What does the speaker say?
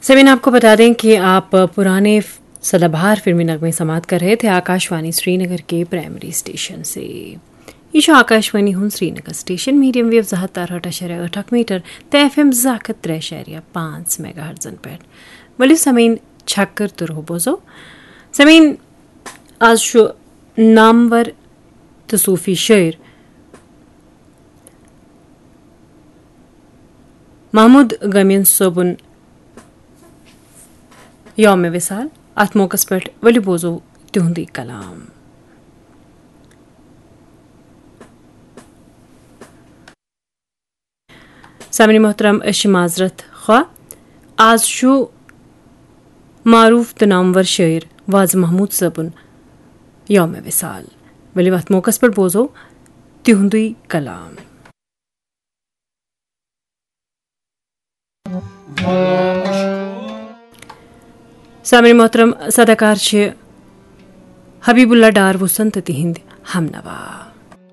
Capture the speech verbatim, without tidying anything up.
سامعین، آپ کو بتا دیں کہ آپ پرانے سدابہار فلمی نغمے سماعت کر رہے تھے آکاشوانی سری نگر کے پرائمری اسٹیشن سے۔ یہ شو آکاشوانی ہوں سری نگر اسٹیشن میڈیم ویو زٕ ہتھ تہٕ ارہٲٹھ اعشاریہ ٲٹھ اکھ میٹر تہٕ ایف ایم زٕ ہتھ تہٕ ترٛےٚ اعشاریہ پانٛژھ میگا ہرٹزن پٮ۪ٹھ۔ ؤلِو سامعین، چھکر تُرہو بوزو۔ سامعین، آز چھُ نامور تہٕ صوفی شٲعر محمود غمین صٲبُن یوم وصال۔ اتھ موقعس پٮ۪ٹھ ؤلِو بوزو تِہُنٛدُے کلام۔ سامعین محترم، أسۍ چھِ معذرت خواہ۔ آز چھُ معروف تہٕ نامور شٲعر واز محمود صٲبُن یوم وصال۔ ؤلِو اتھ موقعس پٮ۪ٹھ بوزو تِہُنٛدُے کلام۔ سامعین محترم، صداکار چھِ حبیب اللہ ڈار وسن تہٕ تِہنٛدۍ ہم نوا۔